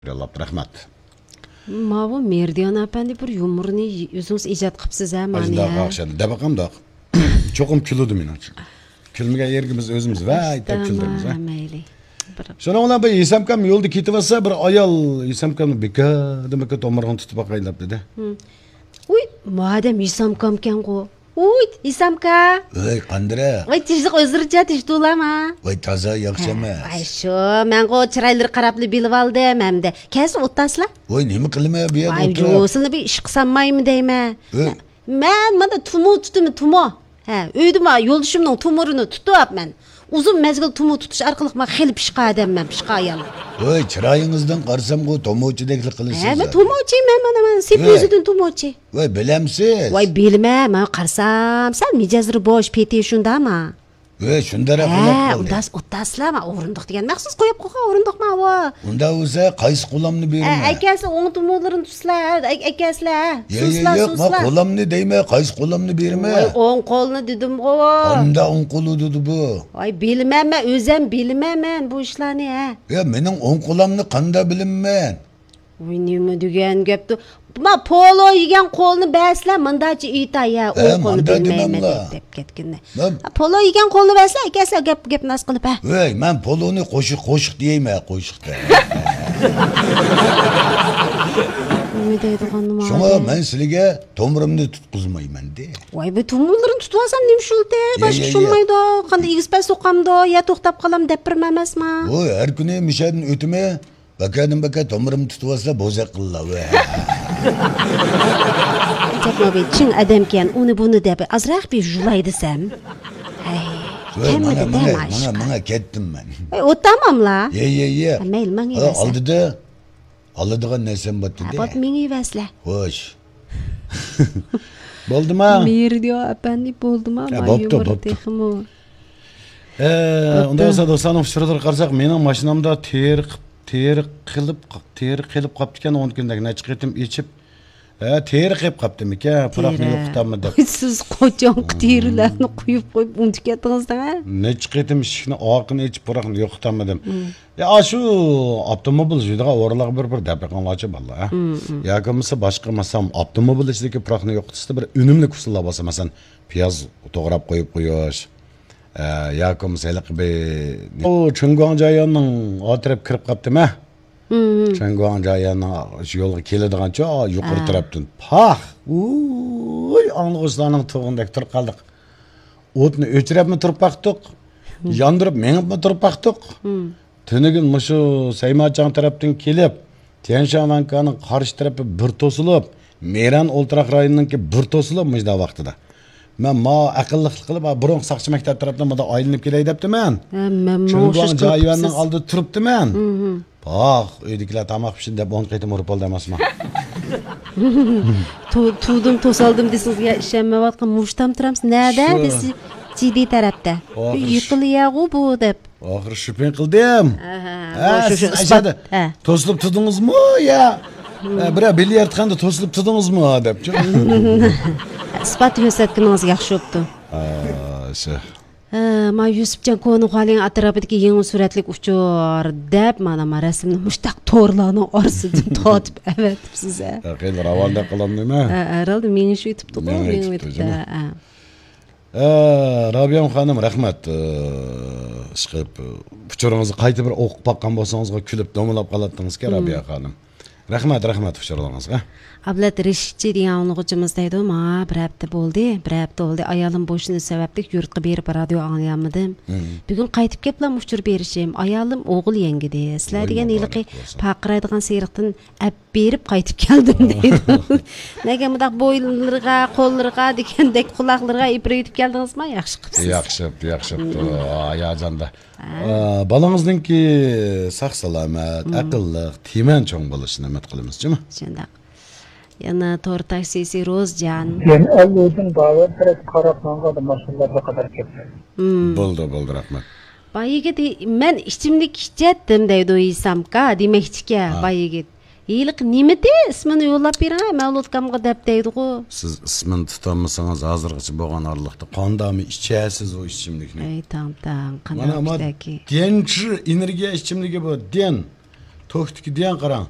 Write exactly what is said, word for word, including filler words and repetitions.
يوللاپتۇ، رەھمەت. ماۋۇ مېرىدىيان ئەپەندى بىر يۇمۇرنى ئۆزىڭىز ئىجاد قىپسىز ھە، مانا ئاشۇنداق ھە. ئوخشايدۇ. دەپ باقامدۇق. چوقۇم كۈلىدۇ مېنىڭچە. كۈلمىگەن يېرىگە بىز ئۆزىمىز ۋەي دەپ كۈلدۈرىمىز ھە. مەيلى. بىر شۇنىڭ بىلەن بىر ھېسامكام يولدا كېتىۋاتسا، بىر ئايال ھېسامكامنى بىكاردىن بىكار تومۇرىڭنى تۇتۇپ باقاي دەپ دېدى. ھم. ۋۇي، مادەم ھېسامكامكەنغۇ. ۋۇي، ھېسامكا. ۋەي، قاندىرە. ۋاي، تىنچلىق ئۆزلىرىچە تىنچ تۇرۇلامۇ؟ ۋاي، تازا ياخشى ھە، ئەمەس. ۋاي، شۇ، مەنغۇ چىرايلىرى قاراپلا بىلىۋالدىم ھەمدە. كەلسە ئوتتاسىلا. ۋاي، نېمە قىلىمەن بۇ يەردە ۋاي، ئولتۇرۇپ؟ جۇ، سىلىنى بىر ئىشقا سالمايمۇ دەيمەن. ۋەي. مەن مانا تۇمۇ تۇتىمەن، تۇمۇ. ھە، ئۆيدە ما يولدىشىمنىڭ تۇمۇرىنى تۇتۇپ، مەن ئۇزۇن مەزگىل تۇمۇ تۇتۇش ئارقىلىق مەن خېلى پىشقا ئادەممەن، پىشقا ئايالمەن. ۋەي، چىرايىڭىزدىن قارىسامغۇ تومۇچىدەكلا قىلىسىز. ھە، مەن تومۇچى، مەن مانا مەن سېپى ۋەي. ئۆزىدىن تومۇچى. ۋەي، بىلەمسىز؟ ۋاي، بىلىمەن، مەن قارىسام سەل مىجەزلىرى بوش، پېتى شۇنداما. ۋەي، شۇنداقراق ھە، بولۇپ قالدى. ئۇنداس ئوتتاسىلا، ما ئورۇندۇق دېگەن مەخسۇس قويۇپ قويغان ئورۇندۇقما ئۇ. ئۇنداق بولسا قايسى قولامنى ھە، بېرىمەن؟ ئەكەلسە ئوڭ تومۇرلىرىنى تۇتسىلا، ھە، ئەك-، ئەكەلسىلا، ھە. يە، يە، سۇنسىلا، ياق، ما سۇنسىلا. قولامنى دەيمەن، قايسى قولامنى بېرىمەن؟ ۋاي، ئوڭ قولنى دېدىمغۇ. قانداق ئوڭ قولى دېدى بۇ؟ ۋاي، بىلىمەن مەن، ئۆزەم بىلىمەن مەن بۇ ئىشلارنى، ھە. يا، مېنىڭ ئوڭ قولامنى قانداق بىلىمەن؟ ۋاي، نېمە دېگەن گەپتۇ؟ ما پولو يېگەن قولنى بەرسىلە، مۇنداچە ئېيتاي، يا، ھە، ئوڭ قولنى مۇنداق بىلمەيمەن دېمەملا. دەپ، دەپ كەتكىنى. مەن ھە، پولو يېگەن قولنى بەرسىلە، ئەكەلسە گەپ، گەپ ناس قىلىپ، ھە. ۋەي، مەن پولونى قوشۇق، قوشۇق دېيەيمەن، قوشۇق دە. نېمە دەيدىغان نېمە شۇڭا ئادەم؟ مەن سىلىگە تومۇرۇمنى تۇتقۇزمايمەن دە. ۋاي، بۇ تومۇرلىرىنى تۇتۇۋالسام نېمە شۇلتى؟ يە، باشقا يە، ئىش يە. بولمايدۇ. قانداق ئېگىز پەس سوقامدۇ؟ يا توختاپ قالام دەپ بېرىمەن ئەمەسما؟ ۋاي، ھەر كۈنى مۇشەدىن ئۆتىمەن. بەكەدىن بەكە تومۇرۇمنى تۇتۇۋالسا بوزەك قىللا. ئەجەبمۇ بىر چىڭ ئادەمكەن، ئۇنى بۇنى دەپ ئازراق بىر جۇلاي دېسەم. ھەي، ۋەي، كەممىدى ماڭا، دە ماڭا، مانا ماڭا، ئىشقا. ماڭا كەتتىم مەن. ئەي، ئوتتاماملا؟ يە، يە، يە. ھە، مەيلى، ماڭا ھە، بەرسە. ئالدىدا، ئالىدىغان نەرسەم بار ھە، دېدى. بولدى، مېڭىۋەرسىلە. خوش. بولدىما؟ مېرىدىيو ئەپەندى، بولدىما؟ ھە، ما بوپتۇ، يۇمۇر بوپتۇ. تېخىمۇ. ھە، بوپتۇ. ئۇنداق بولسا دوستلارنىڭ ئۇچۇرلىرىغا قارىساق، مېنىڭ ماشىنامدا تېرە قىپ-، تېرە قېلىپ، تېرە قېلىپ قاپتىكەن، ئون كۈندەك نەچچە قېتىم ئېچىپ، ھە، تېرە قېلىپ قاپتىمىكەن، پۇراقنى تېرە. يوقىتالمىدىم. سىز قاچانقى تېرىلەرنى قويۇپ، قويۇپ ئۇنتۇپ كەتتىڭىز دەڭە؟ نەچچە قېتىم ئىشىكنى ئارقىنى ئېچىپ، پۇراقنى يوقىتالمىدىم. مم. يا، ئاشۇ ئاپتوموبىل يۈرىدىغان ئورۇنلارغا بىر، بىر دەپ بېقىڭلارچۇ، بالىلار، ھە؟ مم، مم. ياكى بولمىسا باشقا، مەسىلەن، ئاپتوموبىل ئىچىدىكى پۇراقنى يوقىتىشتا بىر ئۈنۈملۈك ئۇسۇللار بولسا، مەسىلەن، پىياز توغراپ قويۇپ قويۇش، ئە، ياكى بولمىسا ھېلىقى بىر، ئۇ چېڭگۇاڭ جاييۈەننىڭ ئا تەرەپ كىرىپ قاپتىمەن. مم. چېڭگۇاڭ جاييۈەننىڭ شۇ يولغا كېلىدىغانچە يۇقىرى ھە. تەرەپتىن پاخ! ۋۇي، ئاڭلىغۇچىلارنىڭ تۇغىنىدەك تۇرۇپ قالدۇق. ئوتنى ئۆچۈرۈپمۇ تۇرۇپ باقتۇق، مم. ياندۇرۇپ مېڭىپمۇ تۇرۇپ باقتۇق. مم. تۈنۈگۈن مۇشۇ سەيماچاڭ تەرەپتىن كېلىپ، تيەنشان ۋەنكانىڭ قارشى تەرىپى بىر توسۇلۇپ، مېرەن ئولتۇراق رايونىنىڭكى بىر توسۇلۇپ مۇشۇنداق ۋاقتىدا. مەن ما ئەقىللىقلىق قىلىپ، بۇرۇنقى ساقچى مەكتەپ تەرەپتىن مۇنداق ئايلىنىپ كېلەي دەپتىمەن. ھە، مەنمۇ چېڭگۇاڭ ئوخشاش قىلىپ جاييۈەننىڭ قىپسىز. ئالدىدا تۇرۇپتىمەن. مم. پاخ، ئۆيدىكىلەر تاماق پىشىردى دەپ ئون قېتىم ئۇرۇپ ئالدى ئەمەسما؟ تو-، تۇدۇم، توسالدىم دېسىڭىز، يا ئىشەنمەيۋاتقان مۇشتام تۇرامسىز؟ نەدە؟ شۇ. دېسە، جىددىي تەرەپتە. ئاخىر شۇ. يېقىلىيەغۇ بۇ دەپ. ئاخىرى شۈپىڭ قىلدىم. ھە، ھە، ھە، شۇ، شۇ سىز ئىسپات. ئەشەدە ھە. توسۇلۇپ تۇردىڭىزمۇ يا، ھە، بىرەر بىليارتخانىدا توسۇلۇپ تۇردىڭىزمۇ دەپ. ئىسپات كۆرسەتكىنىڭىز ياخشى بوپتۇ. ھە، شۇ. ھە، ما يۈسۈپجان كونا خالىڭ ئەتراپىدىكى يېڭى سۈرەتلىك ئۇچۇر دەپ، مانا، ما رەسىمنى مۇشتاق تورلارنىڭ ئارىسىدىن تارتىپ ئەۋەتىپسىز، ھە. ھە، خېلى راۋان دەپ قالامدىمەن؟ ھە، ھەرھالدا مېڭىش ئۆتۈپتىغۇ، مېڭىش مېڭىپ ئۆتۈپتۇ، ئۆتۈپتۇ، جۇمۇ. ھە. ئە، رابىيەم خانىم، رەھمەت. ئە، ئىشقىلىپ، ئۇچۇرىڭىزنى قايتا بىر ئوقۇپ باققان بولسىڭىزغا كۈلۈپ دومىلاپ قالاتتىڭىزكەن، مم. رابىيە خانىم. رەھمەت، رەھمەت ئۇچۇرلىرىڭىزغا. ئابلەت رىشىتچى دېگەن ئاڭلىغۇچىمىز دەيدۇ، ماڭا بىر ھەپتە بولدى، بىر ھەپتە بولدى، ئايالىم بوشىنىش سەۋەبلىك يۇرتقا بېرىپ رادىيو ئاڭلىيالمىدىم. مم. بۈگۈن قايتىپ كېلىپلا ئۇچۇر بېرىشىم، ئايالىم ئوغۇل يەڭگىدى. سىلەر ۋاي، دېگەن ھېلىقى مۇبارەك بولسۇن. پارقىرايدىغان سېرىقتىن ئەپ بېرىپ قايتىپ كەلدىم دەيدۇ. نەگە مۇنداق بوينلىرىغا، قوللىرىغا دېگەندەك، قۇلاقلىرىغا ئېپىرىۋېتىپ كەلدىڭىزما؟ ياخشى قىپسىز. ياخشى، ياخشى. ھاياجاندا. ھە. ئا، بالاڭىزنىڭكى ساق-سالامەت، مم. ئەقىللىق، تىمەن چوڭ بولۇشىنى ئۈمىد قىلىمىز، جۇمۇ. شۇنداق. يەنە تور تاكسىسى روزجان. يەنە ئەللۇدىن باۋەر تەرەپ قاراپ ماڭغاندا ماشىنىلار بىر قەدەر كەپتۇ. مم. بولدى، بولدى، رەھمەت. باي يىگىت، مەن ئىچىملىك ئىچەتتىم دەيدۇ، ھېسامكا دېمەكچىكەن، ھە. باي يىگىت. ھېلىقى نېمىدى؟ ئىسمىنى يوللاپ بېرىڭە، مەۋلۇتكامغا دەپ دەيدىغۇ. سىز ئىسمىنى تۇتالمىسىڭىز، ھازىرغىچە بولغان ئارىلىقتا قانداقمۇ ئىچەسىز ئۇ ئىچىملىكنى؟ ئەي، تاڭ، تاڭ، مانا، قانداق ما، دېنچى ئېنېرگىيە ئىچىملىكى بۇ، دېن. توكتىكى دېگەن قاراڭ.